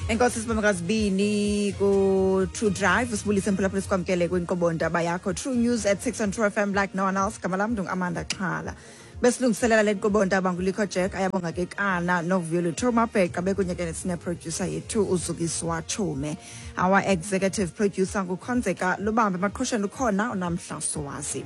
Enkosi sibamkazibini ku True Drive, sibulise mphulaphula, sikwamkele kwinkqubo ndaba yakho True News at 6 on True FM like no one else. Gama lam ndingu-Amanda Xhala. Besilungiselela le nkqubo ndaba nguLikho Jack, Ayabonga Kekana noVuyelo Thomabheqa, bekunye ke sine-producer yethu uZukiswa Chume. Our executive producer nguKhonzeka Lubambe, emaqhosheni ukhona uNamhla Sowazi.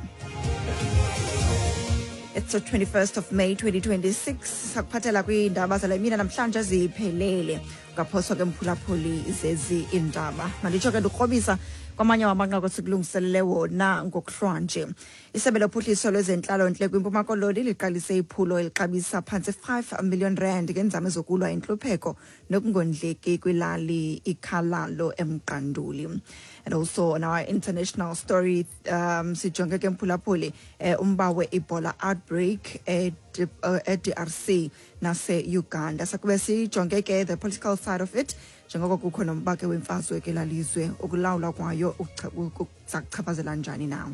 It's the 21st of May 2026. Sakuphathela kwiindaba zale mina namhlanje ziphelele. Ungaphoswa ke mphulaphuli zezi iindaba. Manditsho ke ndikrobisa kwamanye wamanqaku esikulungiselele wona ngokuhlwanje. Isebe lophuhliso lwezentlalontle kwiMpuma Koloni liqalise iphulo elixabisa phantse 5 million rand ngeenzame zokulwa intlupheko nokungondleki kwilali iKhalalo eMqanduli. And also on our international story, sijonge ke mphulaphuli umba we-Ebola outbreak e-DRC nase-Uganda. Sakube sijonge ke the political side of it, njengoko kukho nomba ke wemfazwe ke lalizwe, ukulawula kwayo kuchaphazela njani na.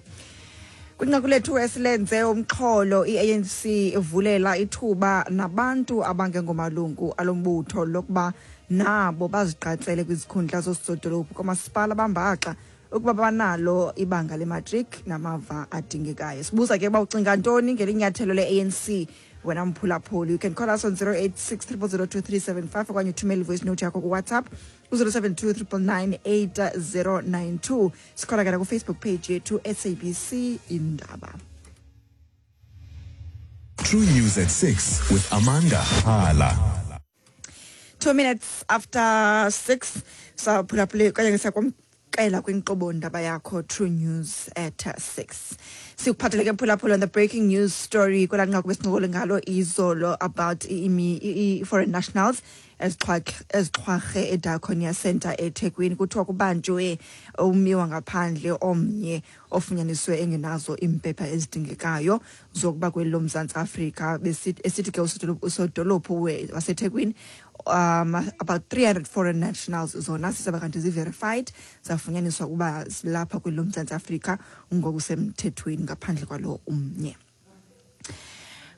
Kwinqaku lethu esilenze umxholo, i-ANC ivulela ithuba nabantu abangengomalungu alombutho lokuba nabo bazigqatsele kwizikhundla zoosodolophu kwamasipala bambaxa ukuba banalo ibanga lematric namava adingekayo. Sibuza ke uba ucinga ntoni ngelinyathelo le-ANC wena mphulaphuli. You can call us on 086 0002375 okanye uthumele ivoice note yakho kuWhatsApp ku-072 999 8092. Sikhona ke nakufacebook page yethu SABC Indaba. True News at 6 with Amanda Hala. 6:02 saphulaphule okanye siyakwamkela kwinkqubo ndaba yakho True News at 6. Sikuphathele ke mphulaphula on the breaking news story kwelaa nqaku besincokole ngalo izolo about i-foreign nationals ezixhwarhe eDiakonia Center eThekwini. Kuthiwa kubanjwe ummi wangaphandle omnye ofunyaniswe engenazo iimpepha ezidingekayo zokuba kweli loMzantsi Afrika. Esithi ke usodolophu waseThekwini, about 300 foreign nationals zona sisaba kanti zi-verified, zafunyaniswa ukuba zilapha kweli loMzantsi Afrika ngokusemthethweni ngaphandle kwalo umnye.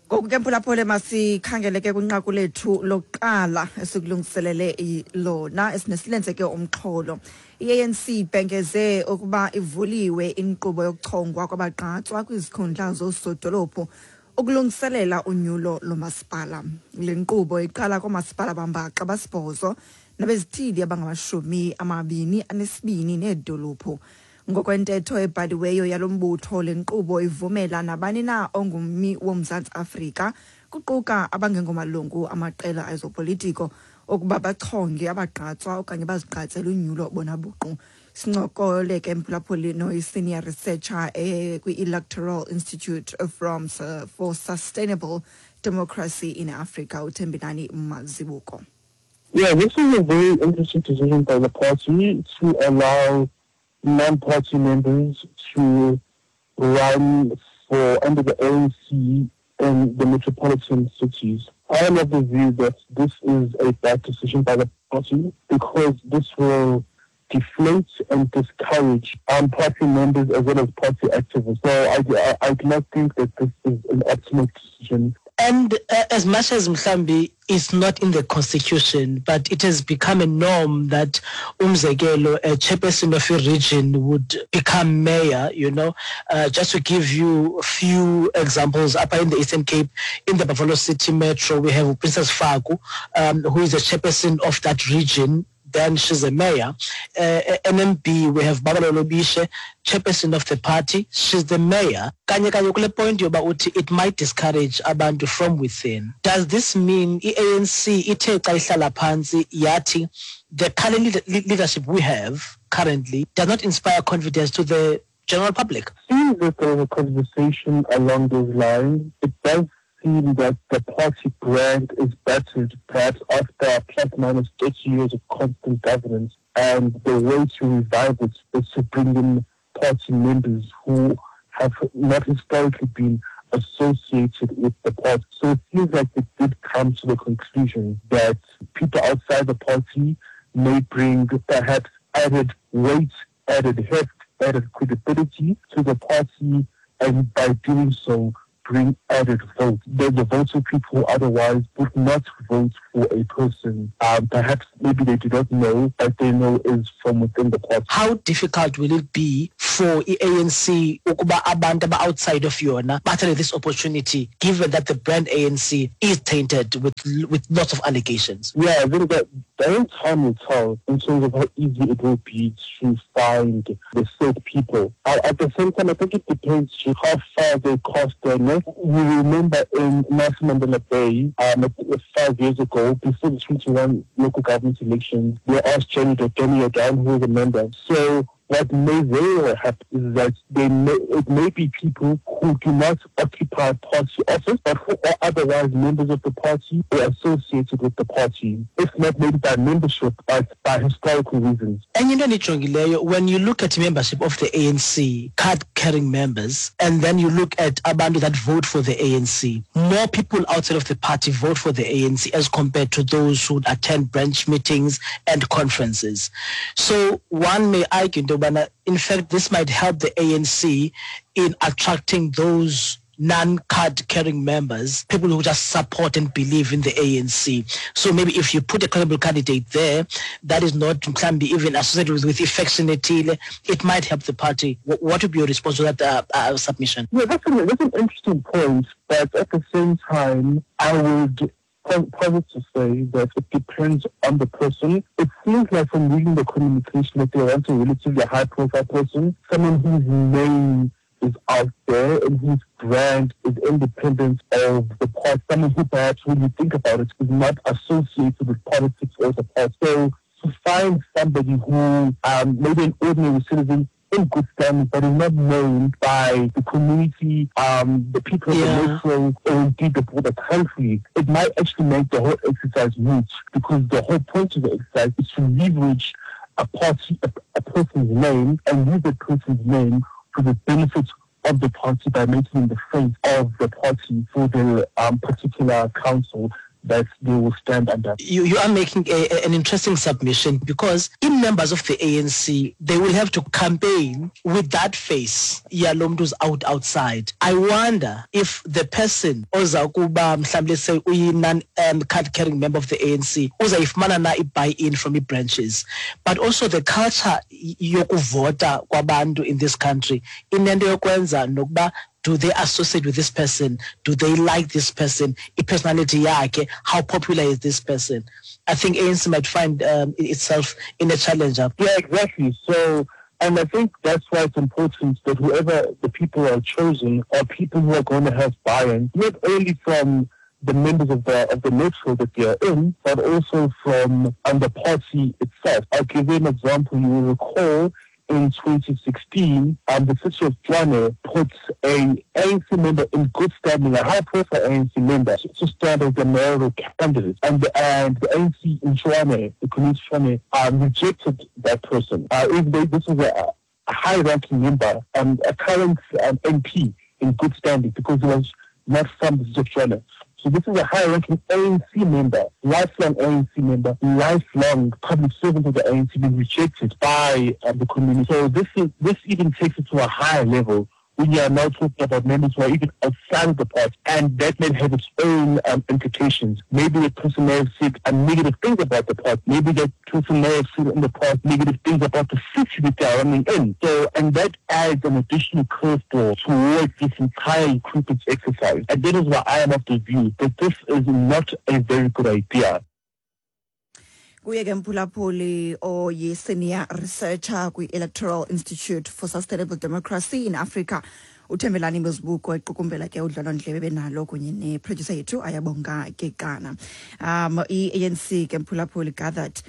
Ngoku ke mphulaphule, masikhangele ke kwinqaku lethu lokuqala esikulungiselele lona esinesilenze ke umxholo. I-ANC ibhengeze ukuba ivuliwe inkqubo yokuchongwa kwabagqatswa kwizikhundla zoosodolophu ukulungiselela unyulo lomasipala. Le nkqubo iqala koomasipala bambaxa abasibhozo nabezithili abangama-22 needolophu. Ngokwentetho ebhaliweyo yalo mbutho, le nkqubo ivumela nabani na ongummi woMzantsi Afrika, kuquka abangengomalungu amaqela ezopolitiko, ukuba bachonge abagqatswa okanye bazigqatsele unyulo bona buqu. Sincokole ke mphulaphuli noyi-senior researcher kwi-Electoral Institute for Sustainable Democracy in Africa, uThembinani Mazibuko. Yeah, this is a very interesting decision by the party to allow non-party members to run for under the ANC in the metropolitan cities. I am of the view that this is a bad decision by the party because this will deflate and discourage party members as well as party activists. So I do not think that this is an optimal decision. And as much as mhlambi is not in the constitution, but it has become a norm that umzekelo, a chairperson of a region would become mayor. Just to give you a few examples, up in the Eastern Cape, in the Buffalo City Metro, we have Princess Faku, who is the chairperson of that region. Then she's a mayor. NMB, we have Babalo Lobishe, chairperson of the party. She's the mayor. Kanye kanye kule point yoba uthi it might discourage abantu from within. Does this mean i-ANC ithe xa ihlala phantsi yathi the current leadership we have currently does not inspire confidence to the general public? Seems that there was a conversation along those lines. It does seem that the party brand is battered, perhaps after plus minus 30 years of constant governance, and the way to revive it is to bring in party members who have not historically been associated with the party. So it seems like it did come to the conclusion that people outside the party may bring perhaps added weight, added heft, added credibility to the party, and by doing so, bring added votes. The votes of people who otherwise would not vote for a person. Perhaps maybe they do not know, but they know is from within the party. How difficult will it be for i-ANC ukuba abantu aba-outside of yona bathathe this opportunity, given that the brand ANC is tainted with lots of allegations? Yeah, I think that the time will tell in terms of how easy it will be to find the said people. At the same time, I think it depends to how far they cast their net. We remember in Nelson Mandela Bay, 5 years ago, before the 21 local government elections, they asked Jenny Jordaan, who was a member. So what may very well happen is that it may be people who do not occupy party office, but who are otherwise members of the party or associated with the party, if not maybe by membership, but by historical reasons. And you know, when you look at membership of the ANC, card-carrying members, and then you look at abantu that vote for the ANC, more people outside of the party vote for the ANC as compared to those who attend branch meetings and conferences. So one may argue, in fact, this might help the ANC in attracting those non-card carrying members, people who just support and believe in the ANC. So maybe if you put a credible candidate there that is not even associated with affectionately, it might help the party. What would be your response to that submission? Yeah, that's an interesting point, but at the same time, I would posit to say that it depends on the person. It seems like from reading the communication that they want a relatively high-profile person, someone whose name is out there and whose brand is independent of the party, someone who perhaps, when you think about it, is not associated with politics or the party. So to find somebody who maybe an ordinary citizen in good standing, but is not known by the community, the people of the metro, or indeed the broader country, it might actually make the whole exercise moot, because the whole point of the exercise is to leverage a party, a person's name, and use that person's name for the benefit of the party by making the face of the party for the particular council that they will stand under. You are making an interesting submission, because in members of the ANC, they will have to campaign with that face. Yalomntu's outside. I wonder if the person ozakuba mhlawumbe, let's say uyi non card carrying member of the ANC, uzayifumana na i-buy-in from the branches. But also the culture yokuvota kwabantu in this country, inento yokwenza nokuba, do they associate with this person? Do they like this person? I-personality yakhe, how popular is this person? I think ANC might find itself in a challenge. Yeah, exactly. So, and I think that's why it's important that whoever the people are chosen are people who are going to have buy-in, not only from the members of the metro that they are in, but also from the party itself. I'll give you an example. You will recall in 2016, the city of Tshwane put an ANC member in good standing, a high-profile ANC member, to stand as the mayoral candidate. And the ANC in Tshwane, the community of Tshwane, rejected that person. This was a high-ranking member, a current MP in good standing, because he was not from the city of Tshwane. So this is a high-ranking ANC member, lifelong ANC member, lifelong public servant of the ANC being rejected by the community. So this even takes it to a higher level when you are now talking about members who are even outside of the party, and that may have its own implications. Maybe the person may have said negative things about the party. Maybe that person may have said in the past negative things about the city that they are running in. So, and that adds an additional curveball towards this entire recruitment exercise. And that is why I am of the view that this is not a very good idea. Kuye ke mphulaphuli oyi-senior researcher kwi-Electoral Institute for Sustainable Democracy in Africa, uThembelani Mazibuko, equkumbela ke udlwalondlebe benalo kunye ne-producer yethu Ayabonga Kekana. I-ANC ke mphulaphuli gathered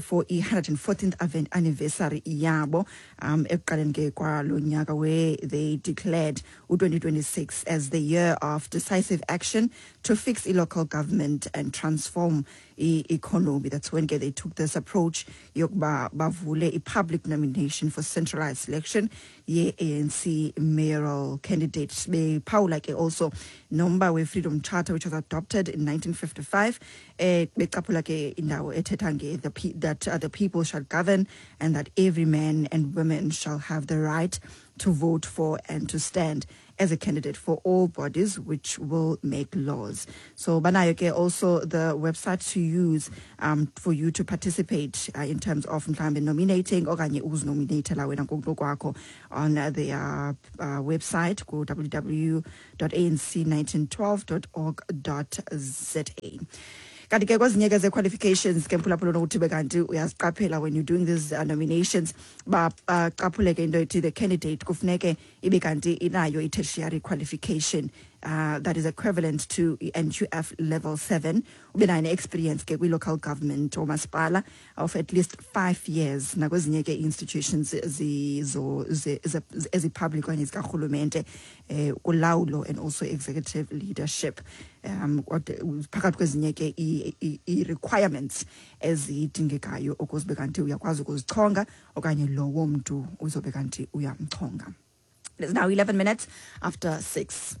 for i-114th anniversary yabo ekuqaleni ke kwalo nyaka, where they declared u-2026 as the year of decisive action to fix i-local government and transform i-economy. That's when ke they took this approach yokuba bavule i-public nomination for centralized selection ye-ANC mayoral candidates. Bephawula ke also nomba we-Freedom Charter, which was adopted in 1955, becaphula ke indawo ethetha nge that the people shall govern and that every man and woman shall have the right to vote for and to stand as a candidate for all bodies which will make laws. So banayo ke also the website to use for you to participate in terms of mhlawumbe nominating okanye uzinominatela wena ngokunokwakho on their website ku www.anc1912.org.za. Kanti ke kwezinye ke ze-qualifications ke, mphulaphula, nokuthi bekanti uyaziqaphela when you're doing these nominations, baqaphule ke into ethi the candidate kufuneke ibe kanti inayo i-tertiary qualification that is equivalent to i-NQF level 7, ube nayo ne-experience ke kwi-local government omasipala of at least 5 years, nakwezinye ke institutions ezi-public okanye zikarhulumente, kulawulo and also executive leadership, phakathi kwezinye ke i-requirements ezidingekayo ukuze ube kanti uyakwazi ukuzichonga okanye lowo mntu uzobe kanti uyamchonga. It is now 11 minutes after 6.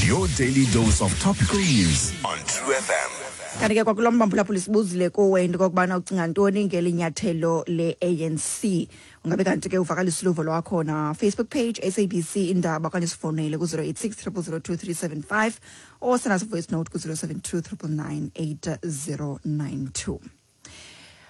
Your daily dose of topical news on True FM. Kanti ke kwakulo mphulaphula sibuzile kuwe into okokubana ucinga ntoni ngeli nyathelo le-ANC. Ungabe kanti ke uvakalisa uluvo lwakho na Facebook page SABC Indaba, okanye sifowunele ku-086 0002375 or send us a voice note ku-072 999 8092.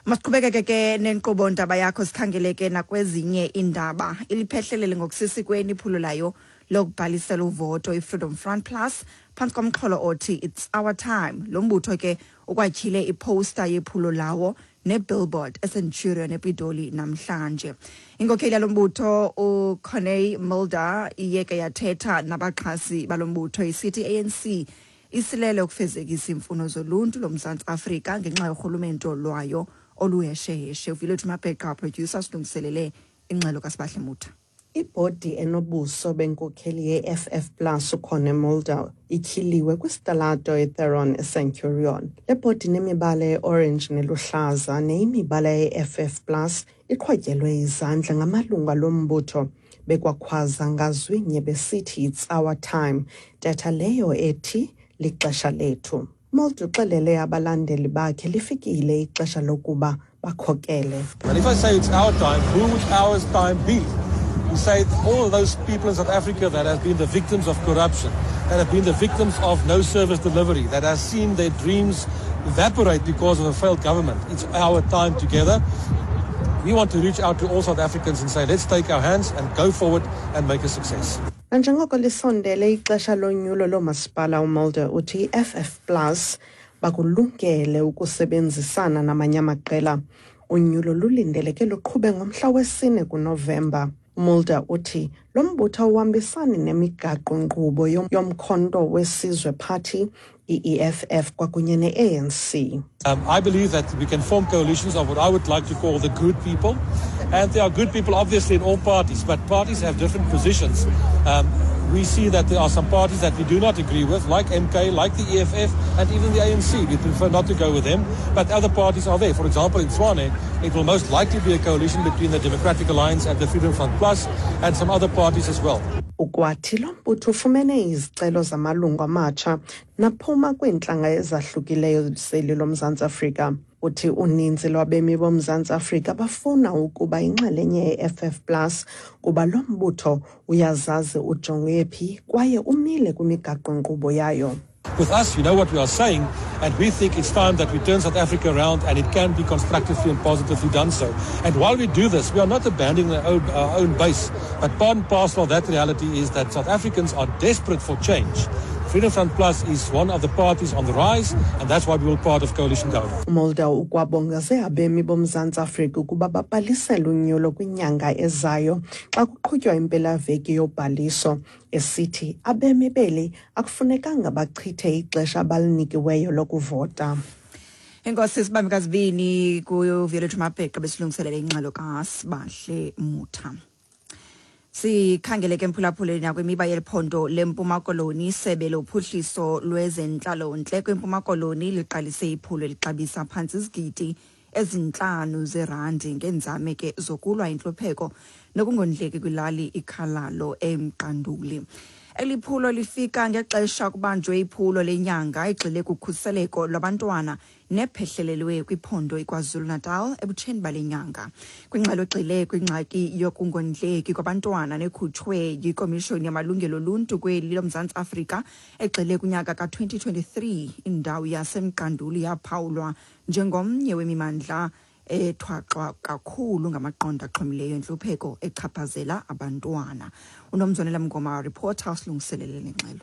Masiqhubekeke ke nenkqubo ndaba yakho, sikhangele ke nakwezinye iindaba. Iliphehlelele ngokusesikweni iphulo layo lokubhalisela uvoto i-Freedom Front Plus phantsi komxholo othi "It's Our Time". Lo mbutho ke ukwatyhile iposta yephulo lawo nebillboard eCenturion ePitoli namhlanje. Inkokheli yalo mbutho uCorné Mulder iye ke yathetha nabaxhasi balo mbutho isithi ANC isilele ukufezekisa iimfuno zoluntu loMzantsi Afrika ngenxa yorhulumento lwayo oluhesheheshe. Uvilethu Mabheqa, producer, silungiselele ingxelo kaSibahle Mutha. Ibhodi enobuso benkokheli ye-FF Plus uCorné Mulder ityhiliwe kwisitalato iTheron eCenturion. Le bhodi nemibala e-orange neluhlaza neyimibala ye-FF Plus iqhwatyelwe izandla ngamalungu alo mbutho bekwakhwaza ngazwinye besithi "It's our time", ntetha leyo ethi lixesha lethu. Mulder uxelele abalandeli bakhe lifikile ixesha lokuba bakhokele. And if I say it's our time, who would our time be? We say all those people in South Africa that have been the victims of corruption, that have been the victims of no service delivery, that have seen their dreams evaporate because of a failed government. It's our time together. We want to reach out to all South Africans and say, let's take our hands and go forward and make a success. Nanjengoko lisondele ixesha lonyulo loomasipala, uMulder uthi i-FF Plus bakulungele ukusebenzisana namanye amaqela. Unyulo lulindeleke luqhube ngomhla wesine kuNovemba. UMulder uthi lo mbutho awuhambisani nemigaqo-nkqubo yoMkhonto weSizwe Party, i-EFF kwakunye ne-ANC. I believe that we can form coalitions of what I would like to call the good people. And there are good people, obviously, in all parties, but parties have different positions. We see that there are some parties that we do not agree with, like MK, like the EFF, and even the ANC. We prefer not to go with them, but other parties are there. For example, in Tshwane, it will most likely be a coalition between the Democratic Alliance and the Freedom Front Plus, and some other parties as well. Ukwathi lo mbutho ufumene izicelo zamalungu amatsha naphuma kwiintlanga ezahlukileyo zeli loMzantsi Afrika. Uthi uninzi lwabemi boMzantsi Afrika bafuna ukuba yinxalenye ye-FF Plus kuba lo mbutho uyazazi ujonge phi kwaye umile kwimigaqo-nkqubo yayo. With us, you know what we are saying, and we think it's time that we turn South Africa around, and it can be constructively and positively done so. And while we do this, we are not abandoning our own base, but part and parcel of that reality is that South Africans are desperate for change. Freedom Front Plus is one of the parties on the rise, and that's why we will part of coalition government. UMulder ukwabongoze abemi boMzantsi Afrika ukuba babhalisele unyulo kwinyanga ezayo xa kuqhutywa impelaveki yobhaliso, esithi abemi beli akufunekanga bachithe ixesha abalinikiweyo lokuvota. Enkosi sibambe kazibini kuViolethu Mabheqa besilungiselele ingxelo kaSibahle Mutha. Sikhangele ke, mphulaphuli, nakwimiba yeliphondo leMpuma Koloni. Isebe lophuhliso lwezentlalontle kwiMpuma Koloni liqalise iphulo elixabisa phantsi izigidi 5 zerandi ngeenzame ke zokulwa intlupheko nokungondleki kwilali iKhalalo eMqanduli. Eli phulo lifika ngexesha kubanjwe iphulo lenyanga egxile kukhuseleko lwabantwana nephehlelelwe kwiphondo iKwaZulu-Natal ebutsheni bale nyanga. Kwingxelo egxile kwingxaki yokungondleki kwabantwana nekhutshwe yiKomishoni yaMalungelo oluntu kweli loMzantsi Afrika egxile kunyaka ka-2023, indawo yaseMqanduli yaphawulwa njengomnye wemimandla ethwaxwa kakhulu ngamaqondo axhomileyo entlupheko echaphazela abantwana. UNomzwanela Mngoma, reporter, usilungiselele le ngxelo.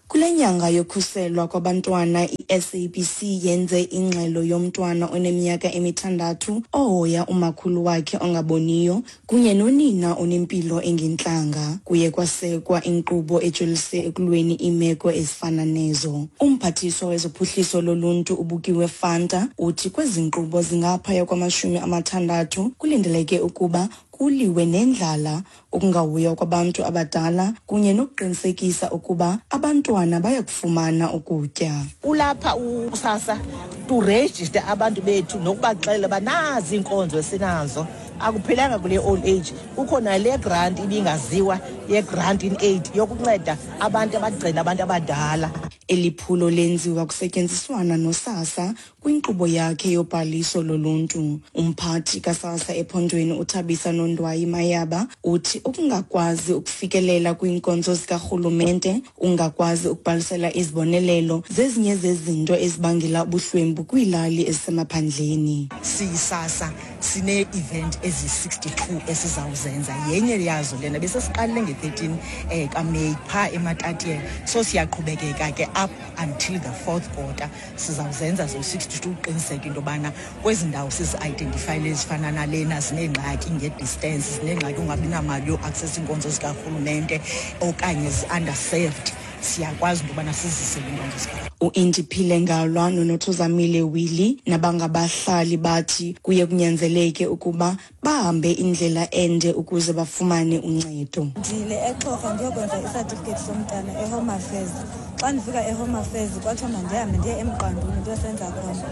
Kule nyanga yokhuselwa kwabantwana, i-SABC yenze ingxelo yomntwana oneminyaka emithandathu ohoya umakhulu wakhe ongaboniyo kunye nonina onempilo engentlanga. Kuye kwasekwa inkqubo ejolise ekulweni iimeko ezifana nezo. Umphathiswa wezophuhliso loluntu uBukiwe Fanta uthi kwezi nkqubo zingaphaya kwama-60 kulindeleke ukuba kuliwe nendlala, ukungahoywa kwabantu abadala kunye nokuqinisekisa ukuba abantwana bayakufumana ukutya. Ulapha uSASSA to register abantu bethu nokubaxelela uba nazi iinkonzo esinazo. Akuphelanga kule old age, kukho nale grant ibingaziwa ye-grant in aid yokunceda abantu abagcina abantu abadala. Eli phulo lenziwa kusetyenziswana noSASSA kwinkqubo yakhe yobhaliso loluntu. Umphathi kaSASSA ephondweni uThabisa Nondwayi Mayaba uthi ukungakwazi ukufikelela kwiinkonzo zikarhulumente, ungakwazi ukubhalisela izibonelelo zezinye zezinto ezibangela ubuhlwempu kwiilali ezisemaphandleni. SiyiSASSA sine-event ezi-62 esizawuzenza. Yenye yazo lena besesiqalile nge-13 kaMeyi phaa eMatatiele, so siyaqhubekeka ke up until the fourth quarter. Sizawuzenza zo-62 uqiniseka into yobana kwezi ndawo sizi-identifyile ezifana nalena zineengxaki nge-distance, zineengxaki ungabi namali yo-access iinkonzo zikarhulumente okanye zi-underserved, siyakwazi into yobana sizise iinkonzo zika U-Indiphile Ngalwa noNothozamile Willie nabangabahlali bathi kuye kunyanzeleke ukuba bahambe indlela ende ukuze bafumane uncedo. Ndile eXhorha ndiyokwenza isatifiketi somntana eHome Affairs. Xa ndifika eHome Affairs kwathiwa mandihambe ndiye eMqanduli ndiyosenza khona.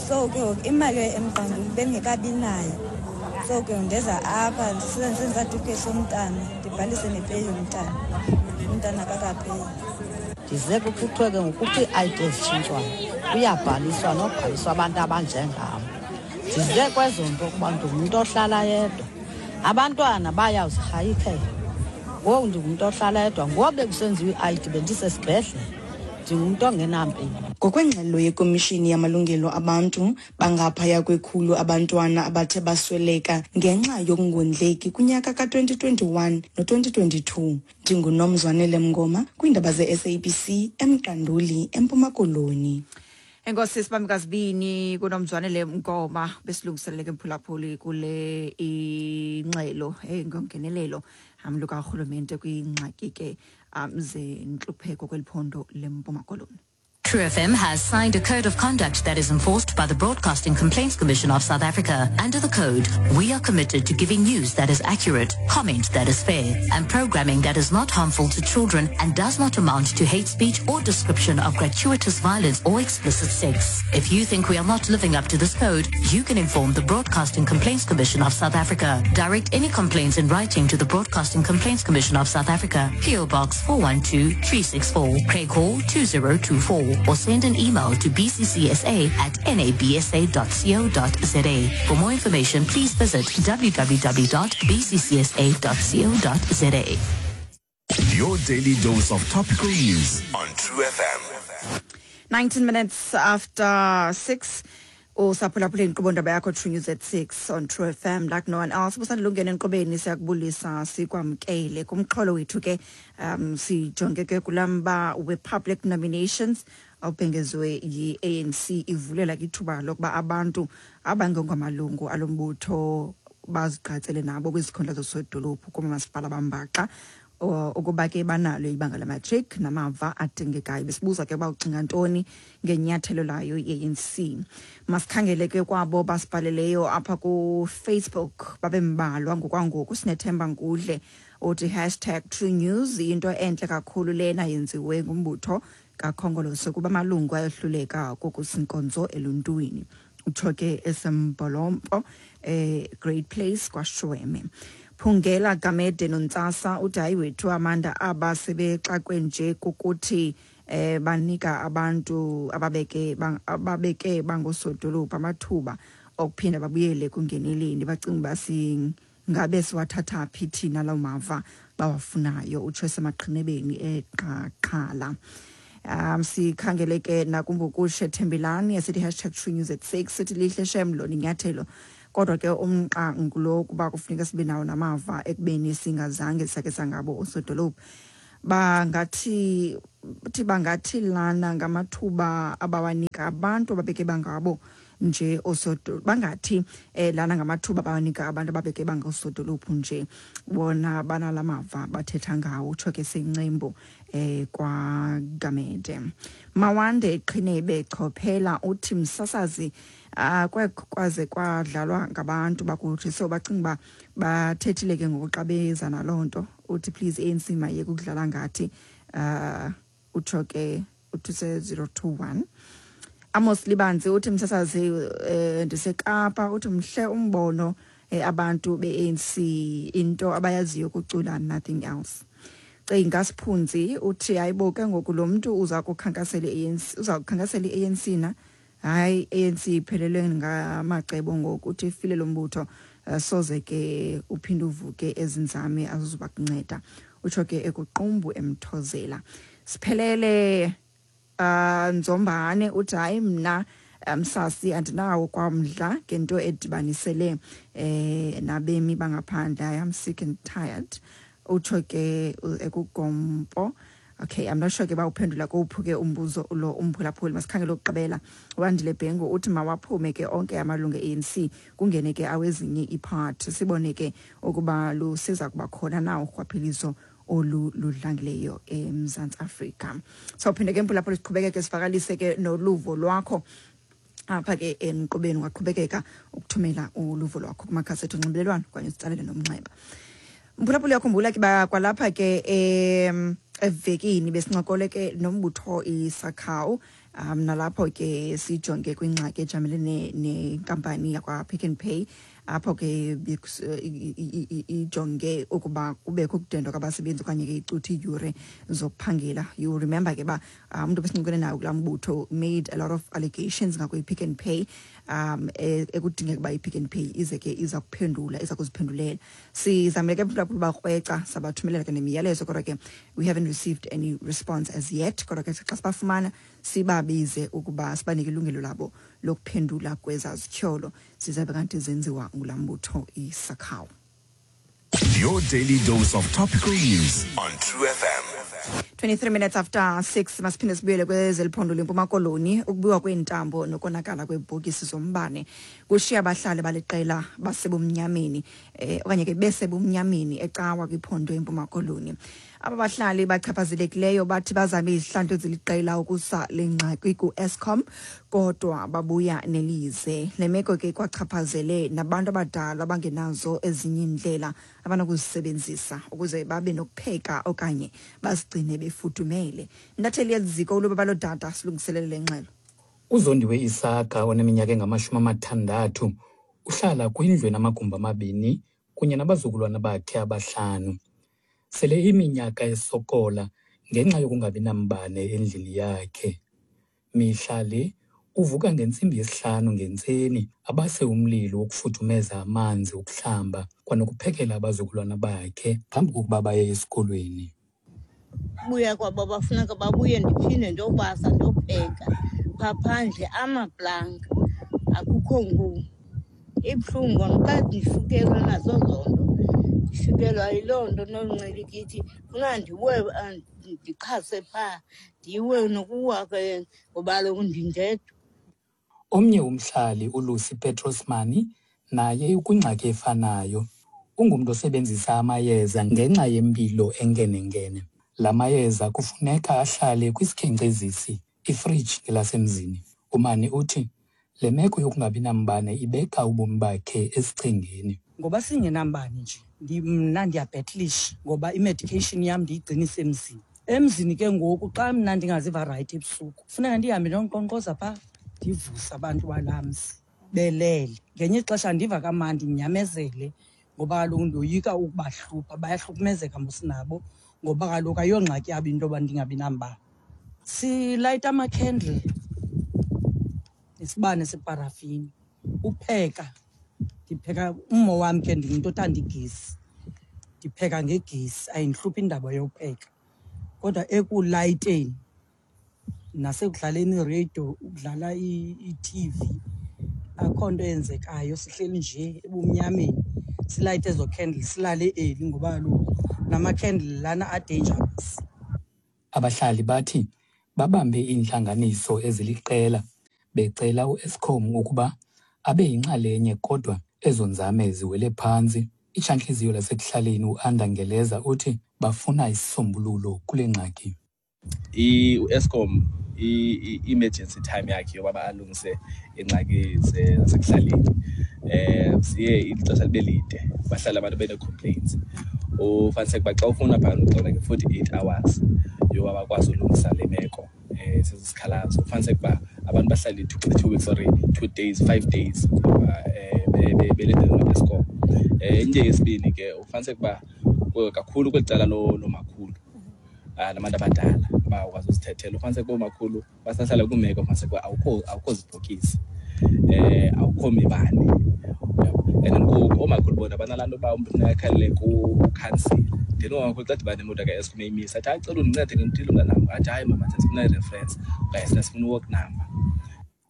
So ke ngoku imali yoya eMqanduli bendingekabi nayo, so ke ndeza apha ndisebenzise isatifiketi somntana, ndibhalise nepeyi yomntana. Umntana kakapeyi. Ndize kuthiwe ke ngoku ii-ID ezitshintshwayo kuyabhaliswa nobhaliswa abantu abanjengam. Ndize kwezo nto kuba ndingumntu ohlala yedwa, abantwana bayawuzirhayikela. Ngoku ndingumntu ohlala yedwa, ngoku bekusenziwa i-ID bendisesibhedlele, ndingumntu ongenampilo. Ngokwengxelo yeKomishini yaMalungelo Abantu, bangaphaya kwekhulu abantwana abathe basweleka ngenxa yokungondleki kunyaka ka-2021 no-2022. NdinguNomzwanele Mngoma kwiindaba ze-SABC eMqanduli, eMpuma Koloni. Enkosi sibamikazibini kuNomzwanele Mngoma besilungiselele ke mphulaphuli kule ingxelo engongenelelo lukarhulumente kwingxaki ke zentlupheko kweli phondo leMpuma Koloni. True FM has signed a code of conduct that is enforced by the Broadcasting Complaints Commission of South Africa. Under the code, we are committed to giving news that is accurate, comment that is fair, and programming that is not harmful to children and does not amount to hate speech or description of gratuitous violence or explicit sex. If you think we are not living up to this code, you can inform the Broadcasting Complaints Commission of South Africa. Direct any complaints in writing to the Broadcasting Complaints Commission of South Africa, PO Box 412364, Craighall 2024, or send an email to bccsa@nabsa.co.za. For more information, please visit www.bccsa.co.za. Your daily dose of topical news on True FM. 19 minutes after 6, usaphulaphula inkqubo ndaba yakho True News at 6 on True FM like no one else. Busandulungena enkqubeni, siyakubulisa sikwamkele kumxholo wethu ke. Sijonge ke kulamba we-public nominations awubhengezwe yi-ANC, ivulela ke ithuba lokuba abantu abangengamalungu alo mbutho bazigqatsele nabo kwizikhundla zosodolophu koomasipala bambaxa ukuba ke banalo ibanga lamatric namava adingekayo. Besibuza ke uba ucinga ntoni ngenyathelo layo i-ANC. Masikhangele ke kwabo basibhaleleyo apha kuFacebook, babe mbalwa ngokwangoku. Sinethemba Ngudle uthi #TrueNews, into entle kakhulu lena yenziwe ngumbutho kaKhongolose kuba amalungu ayohluleka kokusinkonzo eluntwini. Utsho ke eSembolompo, Great Place kwaShweme. Phungela Gamede Nontsasa uthi hayi wethu Amanda, aba sebexakwe nje kukuthi banika abantu ababeke bangosodolophu amathuba okuphinda babuyele kungeneleni, bacinga uba singabe siwathatha phi thina lawo mava bawafunayo, utsho esemaqhinebeni eqaqhala. Sikhangele ke nakumbukushe Thembelani esithi hashtag True News at 6, sithi lihle shem lona inyathelo, kodwa ke umqa ngulo kuba kufuneka sibe nawo namava ekubeni singazange sakhe sangabo osodolophu. Bangathi lana ngamathuba abawanika abantu ababeke bangabo nje osodolophu, bangathi lana ngamathuba abawanika abantu ababeke bangosodolophu nje, bona banalamava bathetha ngawo, utsho ke sencembu kwaGamede. Mawande Qhinebe Chophela uthi msasazi kwaze kwadlalwa ngabantu bakuthi, so bacinga uba bathethile ke ngoku xa beza naloo nto. Uthi please ANC mayeke ukudlala ngathi, utsho ke uthi se-021. Amos Libanzi uthi msasazi ndiseKapa, uthi mhle umbono abantu be-ANC, into abayaziyo kucula, nothing else. Cinga Siphunzi uthi hayibo ke ngoku lo mntu uza kukhankasela i-ANC, uza kukhankasela i-ANC na? Hayi, ANC iphelelwe ngamacebo ngoku, uthi ifile lo mbutho, soze ke uphinde uvuke ezinzame azozuba kunceda, utsho ke ekuqumbu emthozela. Siphelele Nzombane uthi hayi mna msasi andinawo kwamdla ngento edibanisele nabemi bangaphandle, I am sick and tired, utsho ke ekugompo. Okay, I'm not sure ke bawuphendula kowuphi ke umbuzo lo umphulaphuli. Masikhangele ukugqibela. Wandile Bhengu uthi mawaphume ke onke amalungu e-ANC, kungene ke awezinye iipart, sibone ke ukuba lusiza kuba khona na urhwaphilizo olu ludlangileyo eMzantsi Afrika. So phinde ke mphulaphuli siqhubekeke sivakalise ke noluvo lwakho apha ke enkqubeni, ungaqhubekeka ukuthumela uluvo lwakho kumakhasi ethu onxibelelwano okanye usitsalele nomnxeba. Mphulaphuli, uyakhumbula ke kwalapha ke evekini besincokole ke nombutho iSACAWU, nalapho ke sijonge kwingxaki ejamelene nenkampani yakwa-Pick n Pay, apho ke ijonge ukuba kubekho ukudendwa kwabasebenzi okanye ke icuthe iiyure zokuphangela. You remember ke uba umntu besincokole nayo kulaa mbutho made a lot of allegations ngakwi-Pick n Pay, ekudingeka uba i-Pick n Pay ize ke iza kuphendula, iza kuziphendulela. Sizamile ke mphulaphula bakrweca, sabathumelela ke nemiyalezo, kodwa ke we haven't received any response as yet. Kodwa ke xa sibafumana sibabize ukuba sibanike ilungelo labo lokuphendula kweza zityholo zizabe kanti zenziwa ngulaa mbutho iSACAWU. Your daily dose of topical news on True FM. 23 minutes after 6, masiphinde sibuyele kwezeliphondo lempuma Koloni. Ukubiwa kweentambo nokonakala kweebhokisi zombane kushiya abahlali baliqela basebumnyameni okanye ke besebumnyameni eCawa kwiphondo empuma Koloni. Aba bahlali bachaphazelekileyo bathi bazame izihlandlo eziliqela ukusa le ngxaki ku-Eskom, kodwa babuya nelize. Le meko ke kwachaphazele nabantu abadala abangenazo ezinye iindlela abanokuzisebenzisa ukuze babe nokupheka okanye bazigcine befudumele. Intatheli yeziko uLubabalo Dada silungiselele le ngxelo. Uzondiwe Isaka oneminyaka engama-60 uhlala kwindlu enamagumbi 2 kunye nabazukulwana bakhe 5. Sele iminyaka esokola ngenxa yokungabi nambane endlini yakhe. Mihla le uvuka ngentsimbi yesihlanu ngentseni abase umlilo wokufudumeza amanzi okuhlamba kwanokuphekela abazukulwana bakhe phambi kokuba baye esikolweni. Buya kwabo bafuneka babuye, ndiphinde ndiyobasa, ndiyopheka phaa phandle amaplanga, akukho ngu. Ibuhlungu xa ndifikelwa nazo zonto, ndifikelwa yiloo nto noncilikithi, funa ndiwe ndiqhase phaa, ndiwe nokuwa ke ngoba kaloku ndindedwa. Omnye umhlali uLucy Petrosmani naye ukwingxaki efanayo. Ungumntu osebenzisa amayeza ngenxa yempilo enkenenkene. La mayeza kufuneka ahlale kwisikhenkcezisi, ifriji ngelasemzini. UMani uthi le meko yokungabi nambane ibeka ubomi bakhe esichengeni. Ngoba singenambane nje, mna ndiyabhetlisha ngoba i-medication yam ndiyigcina isemzini. Emzini ke ngoku xa mna ndingaziva rayithi ebusuku, funeka ndihambe ndiyonkqonkqoza phaa, ndivuse abantu balaa mzi belele. Ngenye ixesha ndiva kamandi ndinyamezele Ngoba kaloku ndoyika ukubahlupha, bayahlukumezeka mos nabo, ngoba kaloku ayongxaki yabo into yoba ndingabi nambane. Silayita amakhendle nesibane separafini. Upheka, ndipheka ummo wam ke, ndingumntu othanda igesi, ndipheka ngegesi, ayindihluphi indaba yopheka. Kodwa ekulayiteni nasekudlaleni ireyidiyo, ukudlala i-TV, akho nto eyenzekayo, sihleli nje ebumnyameni. Silayite ezo candle, silale eli, ngoba kaloku namakhendle lana a-dangerous. Abahlali bathi babambe iintlanganiso eziliqela becela uEskom ukuba abe yinxalenye, kodwa ezo nzame ziwele phantsi. Itshantliziyo lasekuhlaleni uAnda Ngeleza uthi bafuna isisombululo kule ngxaki. U-Eskom i-emergency time yakhe yoba alungise iingxaki zasekuhlaleni ziye ixesha libe lide, bahlale abantu bene-complaints. Ufumaniseke uba xa ufuna phana uxela nge-48 hours yoba bakwazi ulungisa le meko sesi sikhalazo, ufumaniseke uba abantu bahlale 2 weeks, sorry, 2 days, 5 days belindele noEskom. Into yesibini ke, ufumaniseke uba kakhulu kweli cala loomakhulu nabantu abadala abakwazi uzithethela, ufumaniseke uba oomakhulu basahlala kwimeko ufumaniseke uba awukho zibhokisi, awukho mibane, uyabo. And then ngoku oomakhulu bona banalaa nto uba umntu funeka akhalele kukhansila. Then oomakhulu xa dibana nemoto kaEskom eyimisa, athi, "Hayi, cela undincede ngentile mntanam." Athi, "Hayi mama, sifuna i-reference okanye sifuna i-work number."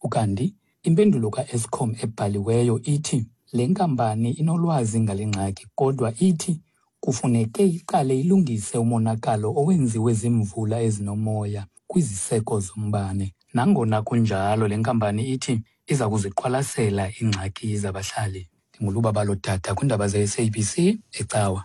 Ukanti impendulo kaEskom ebhaliweyo ithi le nkampani inolwazi ngale ngxaki, kodwa ithi kufuneke iqale ilungise umonakalo owenziwe ziimvula ezinomoya kwiziseko zombane. Nangona kunjalo, le nkampani ithi iza kuziqwalasela iingxaki zabahlali. NdinguLubabalo Dada kwiindaba ze-SABC eCawa.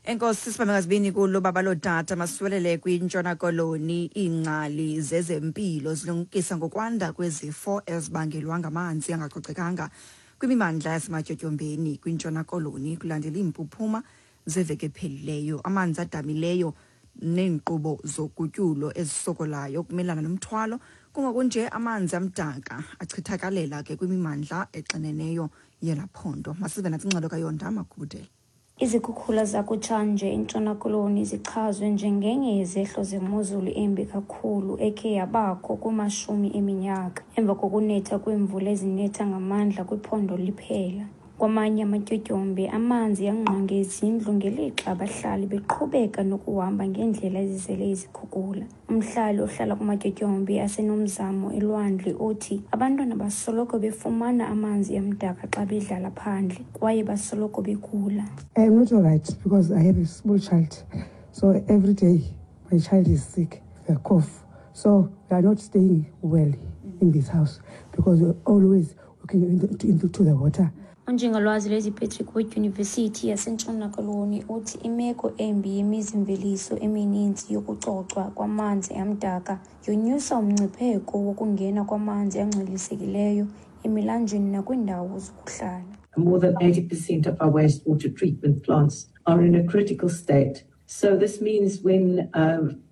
Enkosi sibambe ngazibini kulo baba lodata. Masiwelele kwiNtshona Koloni. Iingcali zezempilo zilumkisa ngokwanda kwezifo ezibangelwa ngamanzi angacocekanga kwimimandla yasematyotyombeni kwiNtshona Koloni, kulandela iimpuphuma zeveki ephelileyo, amanzi adamileyo neenkqubo zogutyulo ezisokolayo ukumelana nomthwalo. Kungokunje amanzi amdaka achithakalela ke kwimimandla exineneyo yela phondo. Masive natsi ingxelo kaYonda Makhubudela. Izikhukhula zakutshanje eNtshona Koloni zichazwe njengenye yezehlo zemozulu embi kakhulu ekhe yabakho kumashumi eminyaka, emva kokunetha kweemvula ezinetha ngamandla kwiphondo liphela. Kwamanye amatyotyombe amanzi angqonge izindlu ngelixa abahlali beqhubeka nokuhamba ngeendlela ezizele izikhukula. Umhlali ohlala kumatyotyombe aseNomzamo eLwandle uthi abantwana basoloko befumana amanzi amdaka xa bedlala phandle kwaye basoloko begula. I am not alright because I have a small child. So every day my child is sick, a cough. So we are not staying well in this house because we're always looking into the water. Unjingalwazi lweziPatrick kwiDyunivesithi yaseNtshona Koloni uthi imeko embi yemizimveliso emininzi yokucocwa kwamanzi amdaka yonyusa umngcipheko wokungena kwamanzi angcolisekileyo emilanjeni nakwiindawo zokuhlala. More than 80% of our wastewater treatment plants are in a critical state. So this means when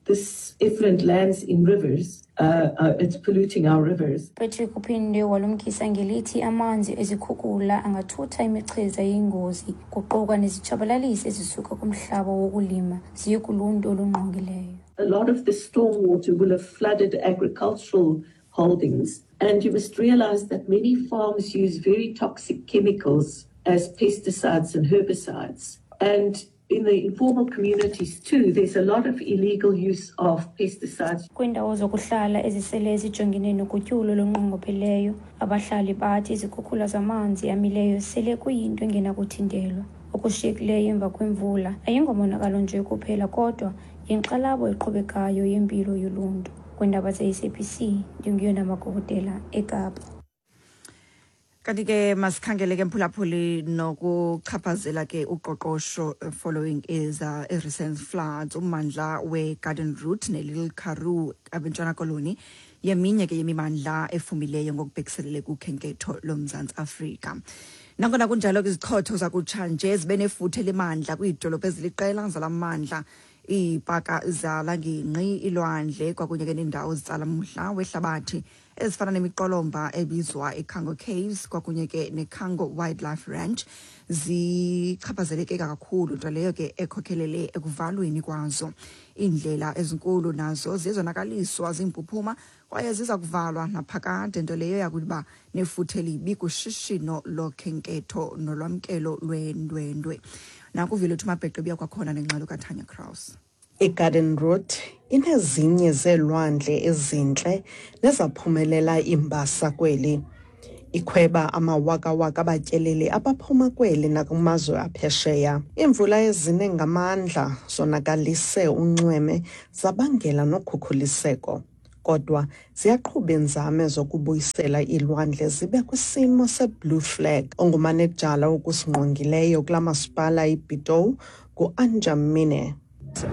this effluent lands in rivers, it's polluting our rivers. Patrick uphinde walumkisa ngelithi amanzi ezikhukula angathutha imichiza eyingozi, kuquka nezitshabalalisi ezisuka kumhlaba wokulima, ziye kuluntu olungqongileyo. A lot of the stormwater will have flooded agricultural holdings. And you must realize that many farms use very toxic chemicals as pesticides and herbicides. And in the informal communities too, there's a lot of illegal use of pesticides. Kwiindawo zokuhlala ezisele zijongene nogutyulo olunqongopheleyo, abahlali bathi izikhukhula zamanzi amileyo sele kuyinto engenakuthintelwa. Okushiyekileyo emva kwemvula ayingomonakalo nje kuphela, kodwa yinkxalabo eqhubekayo yempilo yoluntu. Kwiindaba ze-SABC, ndinguyona Magobodela eKapa. Kanti ke masikhangele ke, mphulaphuli, nokuchaphazela ke uqoqosho following is recent floods. Ummandla we-Garden Route ne-Little Karoo abeNtshona Koloni yeminye ke yemimandla efumileyo ngokubhekiselele kukhenketho loMzantsi Afrika. Nangona kunjalo ke, izichotho zakutshanje zibe nefuthe lemandla kwiidolophu eziliqela zalamandla, iipaka zala ngingqi, ilwandle kwakunye ke neendawo zitsala umdla wehlabathi. ezifana nemiqolomba ebizwa iCango Caves kwakunye ke neCango Wildlife Ranch zichaphazeleke kakhulu, nto leyo ke ekhokhelele ekuvalweni kwazo. Iindlela ezinkulu nazo ziye zonakaliswa ziimpuphuma kwaye ziza kuvalwa naphakade, nto leyo yakuba nefuthe elibi kushishino lokhenketho nolwamkelo lwendwendwe. Nakuvile Mabheqe buya kwakhona nengxelo kaTanya Kraus. IGarden Route inezinye zeelwandle ezintle nezaphumelela iimbasa kweli. Ikhweba amawakawaka abatyeleli abaphuma kweli nakumazwe aphesheya. Iimvula ezine ngamandla zonakalise unxweme zabangela nokhukhuliseko. Kodwa ziyaqhuba iinzame zokubuyisela iilwandle zibe kwisimo se-blue flag. Ongumanejala wokusingqongileyo kula masipala iBitou ngu-Anjam Mine.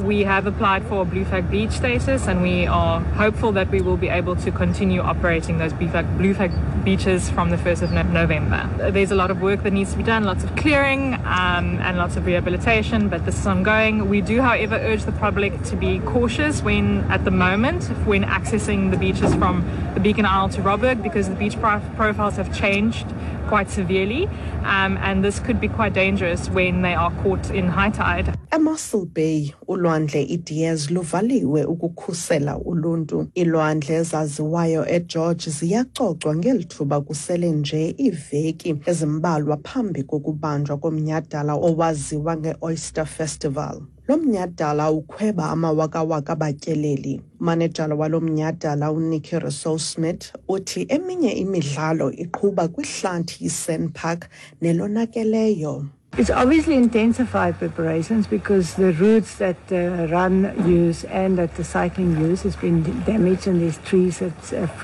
We have applied for Blue Flag beach status and we are hopeful that we will be able to continue operating those Blue Flag, Blue Flag beaches from the 1st of November. There's a lot of work that needs to be done, lots of clearing and lots of rehabilitation, but this is ongoing. We do, however, urge the public to be cautious when, at the moment, when accessing the beaches from the Beacon Isle to Robberg, because the beach profiles have changed quite severely, and this could be quite dangerous when they are caught in high tide. EMossel Bay, ulwandle iDiaz luvaliwe ukukhusela uluntu. Iilwandle ezaziwayo eGeorge ziyacocwa ngeli thuba kusele nje iiveki ezimbalwa phambi kokubanjwa komnyhadala owaziwa nge-Oyster Festival. Lo mnyhadala ukhweba amawakawaka abatyeleli. Umanejala walo mnyhadala uNikki Rossouw-Smith uthi eminye imidlalo iqhuba kwihlathi iSand Park nelonakeleyo. It's obviously intensified preparations because the routes that the run use and that the cycling use has been damaged and there's trees that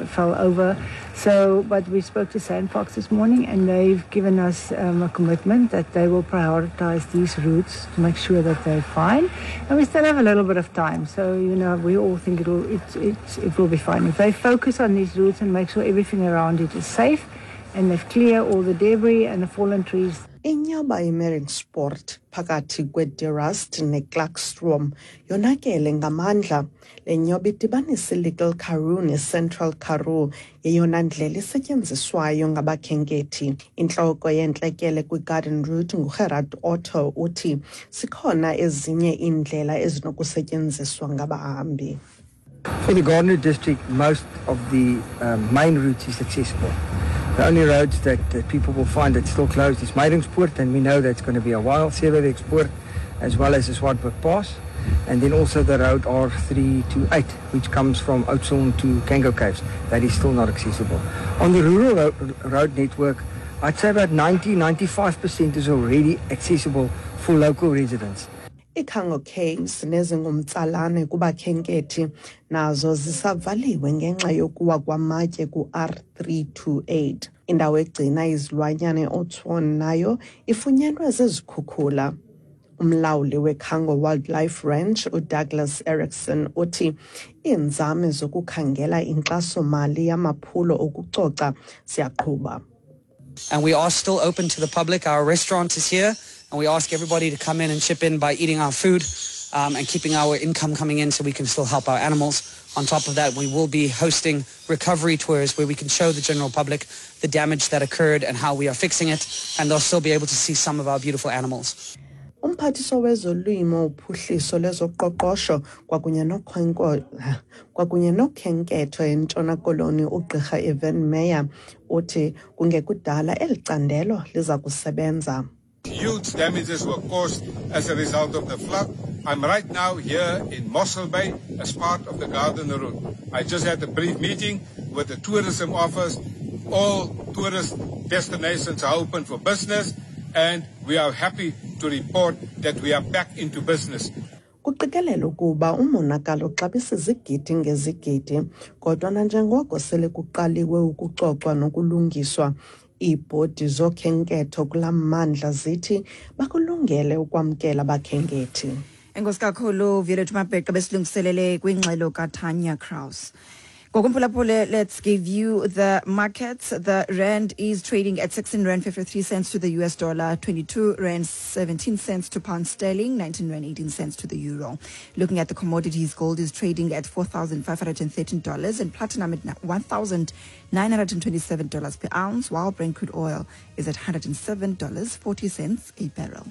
fell over. So, but we spoke to SANParks this morning and they've given us a commitment that they will prioritize these routes to make sure that they're fine. And we still have a little bit of time. So, we all think it will be fine. If they focus on these routes and make sure everything around it is safe and they've cleared all the debris and the fallen trees. Inyoba iMeiringspoort phakathi kweDe Rust neKlaarstroom yonakele ngamandla. Le nyoba idibanisa iLittle Karoo neCentral Karoo yeyona ndlela isetyenziswayo ngabakhenkethi. Intloko yentlekele kwiGarden Route nguGerard Otto uthi zikhona ezinye iindlela ezinokusetyenziswa ngabahambi. For the Garden Route district, most of the main routes is accessible. The only roads that people will find that's still closed is Meiringspoort, and we know that's going to be a while, Seweweekspoort, as well as the Swartberg Pass, and then also the road R328, which comes from Oudtshoorn to Cango Caves. That is still not accessible. On the rural road network, I'd say about 90-95% is already accessible for local residents. ICango Caves nezingumtsalane kubakhenkethi nazo zisavaliwe ngenxa yokuwa kwamatye ku-R328. Indawo egcina izilwanyana eOudtshoorn nayo ifunyenwe zizikhukhula. Umlawuli weCango Wildlife Ranch uDouglas Erickson uthi iinzame zokukhangela inkxaso-mali yamaphulo okucoca ziyaqhuba. And we are still open to the public. Our restaurant is here, and we ask everybody to come in and chip in by eating our food and keeping our income coming in so we can still help our animals. On top of that, we will be hosting recovery tours where we can show the general public the damage that occurred and how we are fixing it, and they'll still be able to see some of our beautiful animals. Umphathiswa wezolimo, uphuhliso lwezoqoqosho kwakunye nokhenketho eNtshona Koloni uGqirha Ivan Meyer uthi kungekudala eli candelo liza kusebenza. Huge damages were caused as a result of the flood. I'm right now here in Mossel Bay as part of the Garden Route. I just had a brief meeting with the tourism office. All tourist destinations are open for business, and we are happy to report that we are back into business. Kuqikelelwa ukuba umonakalo uxabisa izigidi ngezigidi, kodwa nanjengoko sele kuqaliwe ukucocwa nokulungiswa, iibhodi zokhenketho kulaa mmandla zithi bakulungele ukwamkela abakhenkethi. Enkosi kakhulu, Violet Mabheqe, besilungiselele kwingxelo kaTanya Kraus. Ngokumphulaphule, let's give you the markets. The rand is trading at 16 rand 53 cents to the US dollar, 22 rand 17 cents to pound sterling, 19 rand 18 cents to the euro. Looking at the commodities, gold is trading at $4,513 and platinum at $1,927 per ounce, while Brent crude oil is at $107.40 a barrel.